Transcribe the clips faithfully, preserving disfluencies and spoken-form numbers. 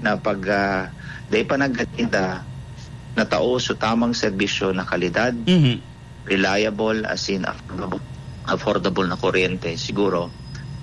na pag, ah, dai pa nagkakita, natao sa tamang serbisyo na kalidad, Mhm. reliable, as in affordable, affordable na kuryente, siguro,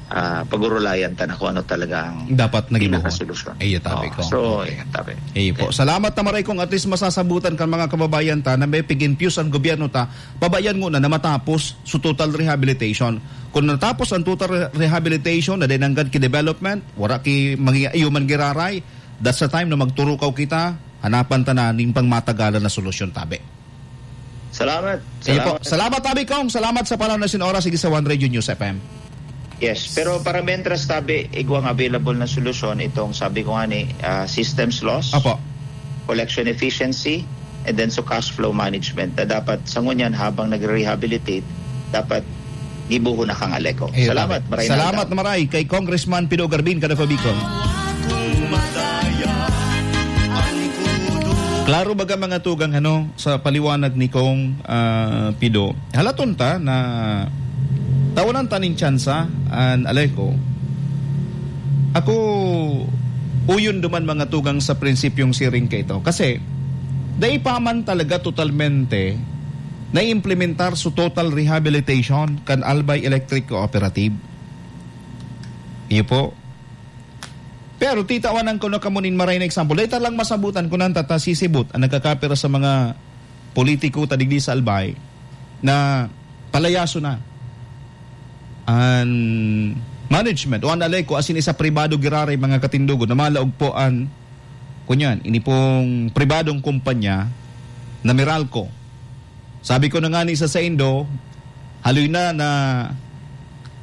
ah, pag-urulayan ta na kung ano talaga ang Dapat nagibuhon. pinakasolusyon. Iyo, tabi Oo, ko. so, Okay. yan, tabi. Iyo po. Okay. Salamat na maray kung at least masasabutan kan mga kababayan ta na may pig-infuse ang gobyerno ta, pabayan ngona na matapos su total rehabilitation. Kung natapos ang total re-, rehabilitation na dinanggad ki development, wala ki mangi-, iyo man giraray, that's the time na magturukaw kita, hanapan ta na ning pangmatagalan na solusyon, tabi. Salamat. Sige po. Salamat. Salamat, Tabi Kong. Salamat sa panahon na sin oras. Sige sa One Radio News F M. Yes, pero para mientras, tabi, igwang available na solusyon itong, sabi ko nga ni, ah, systems loss, Apo. collection efficiency, and then sa cash flow management na dapat sa ngunyan habang nagre-rehabilitate, dapat gibuho na kang Aleco. Ayun, Salamat. tabi. Maray na Salamat aldaw. na maray kay Congressman Pido Garbin, kada pa Bicol. Klaro baga, mga tugang, ano, sa paliwanag ni Kong, ah, Pido. Halaton ta na tawanan ta nin tsansa an Aleco. Ako, uyon duman, mga tugang, sa prinsipyong siring kaito. Kasi, dai pa man talaga totalmente naimplementar su total rehabilitation kan Albay Electric Cooperative. Iyo po. Pero titawanan ko na kamo nin maray na example. Dai ta lang masabutan kun ano ta sisibot an nagkakapira sa mga politiko ta digdi sa Albay na palayaso na an management o an Aleco asin isa pribado giraray mga katindogon na malaog po an, kunyan, ini pong pribadong kumpanya na Meralco. Sabi ko na nga ni sa saindo, haloy na na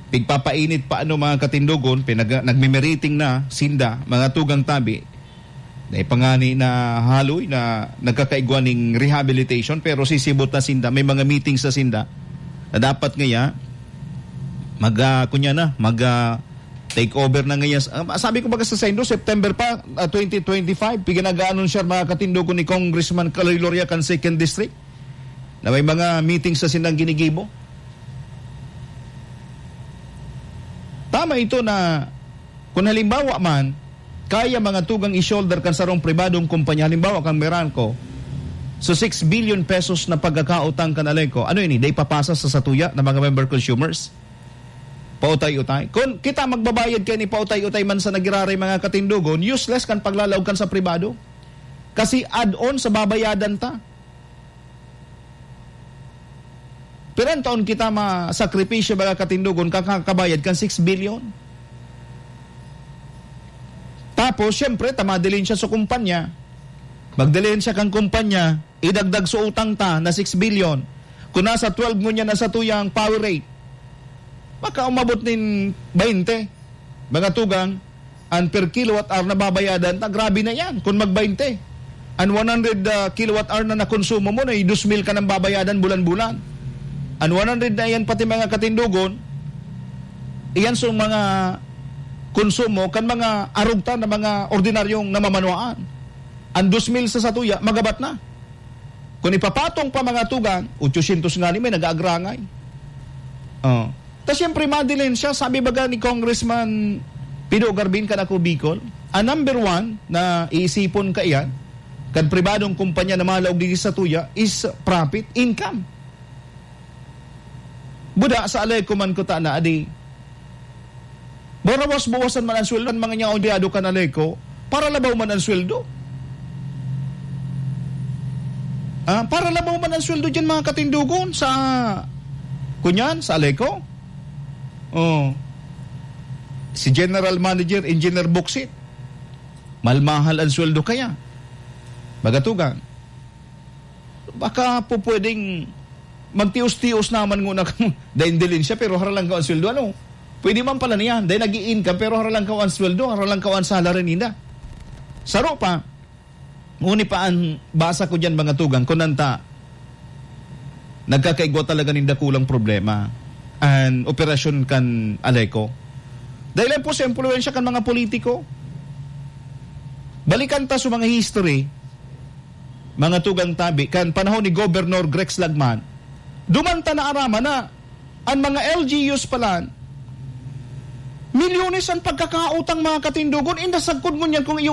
pigpapainit pa ano, mga katindogon, pinag-, nagmimiriting na sinda, mga tugang tabi. Dai pa nga ni na haloy na nagkakaigwa ning rehabilitation, pero sisibot na sinda, may mga meetings na sinda na dapat ngaya mag, ah, kunya na, mag, ah, take over na ngaya. Ah, sabi ko baga sa saindo, September pa, ah, twenty twenty-five, piganaga-anunsiyar, mga katindogon, ni Congressman Kaloy Loria kan Second District. Na may mga meetings na silang ginigibo. Tama ito na kung halimbawa man, kaya mga tugang i-shoulder kan sarong pribadong kumpanya, halimbawa kan Meralco, so six billion pesos na pagkakautang kan Aleco, ano ini, dai papasa sa satuya na mga member consumers? Pautay-utay. Kung kita magbabayad kaya ni pautay-utay man sa nagiraray mga katindogon, useless kan paglalaog kan sa pribado. Kasi add-on sa babayadan ta. Pirang taon kita masakripisyo, mga katindogon, kakakabayad kan six billion? Tapos, siyempre, ta madilin siya sa kumpanya. Magdilin siya kan kumpanya, idagdag sa utang ta na six billion. Kung nasa twelve ngunyan na satuyang power rate, baka umabot nin baynte. Mga tugang, an per kilowatt hour na babayadan ta, grabe na yan kung mag-baynte. An one hundred, ah, kilowatt hour na nakonsumo mo, na dos mil ka nang babayadan bulan-bulan. An one hundred na yan, pati mga katindogon, iyan sa mga konsumo kan mga arog ta na mga ordinaryong namamanwaan. An dos mil sa satuya, magabat na. Kung ipapatong pa mga tugang, otsosyentos nga ni may nag-aagrangay. Oh. Ta siyempre, madilin siya, sabi baga ni Congressman Pido Garbin kan Ako Bicol, ang number one na iisipon kaiyan, kan pribadong kumpanya na malaog digdi sa tuya, is profit, income. Buda sa Aleco man kuta na, adi. Barawas-bawasan man ang sweldo, ang mga niya empleyado kan Aleco, para labaw man ang sweldo. Ah, para labaw man ang sweldo dyan, mga katindogon, sa, kunyan, sa Aleco. Oh. Si General Manager, Engineer Buksit. Malmahal ang sweldo kaya. Magatugang. Baka po pwedeng magtios-tios naman nguna kamo. Dahil dilin siya, pero haralangkaw ang sweldo, ano? Pwede man pala niyan. Dahil nag-i-income, pero haralangkaw ang sweldo, haralangkaw ang salary ninda. Saro pa, uni pa ang basa ko dyan, mga tugang, kung nanta, nagkakaigwa talaga nin dakulang problema an operasyon kan Aleco. Dahil lang po sa impluwensya kan mga politiko. Balikan ta sa mga history, mga tugang tabi, kan panahon ni Governor Grex Lagman, duman ta naaraman na an mga L G Us pala, milyones ang pagkakautang, mga katindogon, inda sagkod ngunyan kung iyo